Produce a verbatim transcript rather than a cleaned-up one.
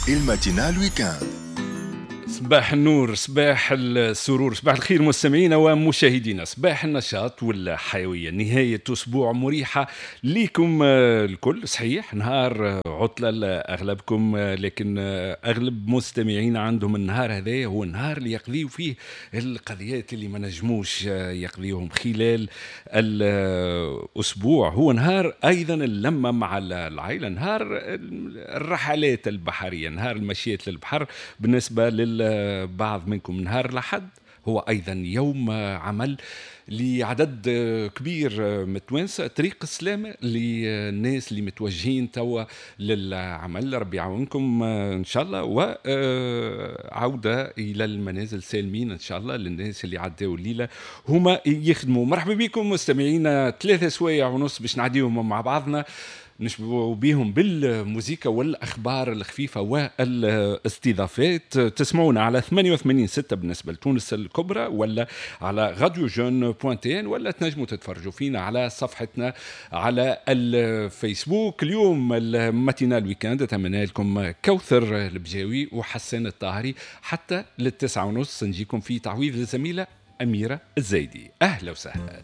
ال matinale week-end. صباح النور، صباح السرور، صباح الخير مستمعينا ومشاهدينا، صباح النشاط والحيوية. نهاية أسبوع مريحة ليكم الكل. صحيح نهار عطلة لأغلبكم، لكن أغلب مستمعينا عندهم النهار هذا هو النهار اللي يقضيوا فيه القضيات اللي ما نجموش يقضيوهم خلال الأسبوع. هو نهار أيضا اللمة مع العائلة، نهار الرحلات البحرية، نهار المشيات للبحر بالنسبة لل بعض منكم. نهار الأحد هو أيضا يوم عمل لعدد كبير من التوانسة، طريق السلامة للناس اللي متوجهين توا للعمل، ربي يعاونكم إن شاء الله، وعودة إلى المنازل سالمين إن شاء الله للناس اللي عداو الليلة هما يخدموا. مرحبا بكم مستمعينا، ثلاثة سوايع ونص باش نعديهم مع بعضنا، نشبعوا بهم بالموسيقى والأخبار الخفيفة والاستضافات. تسمعونا على ثمانية وثمانين ستة بالنسبة لتونس الكبرى، ولا على radio jeune point tn، ولا تنجموا تتفرجوا فينا على صفحتنا على الفيسبوك. اليوم ال matinale week-end أتمنى لكم كوثر البجاوي وحسن الطاهري حتى للتسعة ونص، نجيكم في تعويض للزميلة أميرة الزايدي. أهلا وسهلا.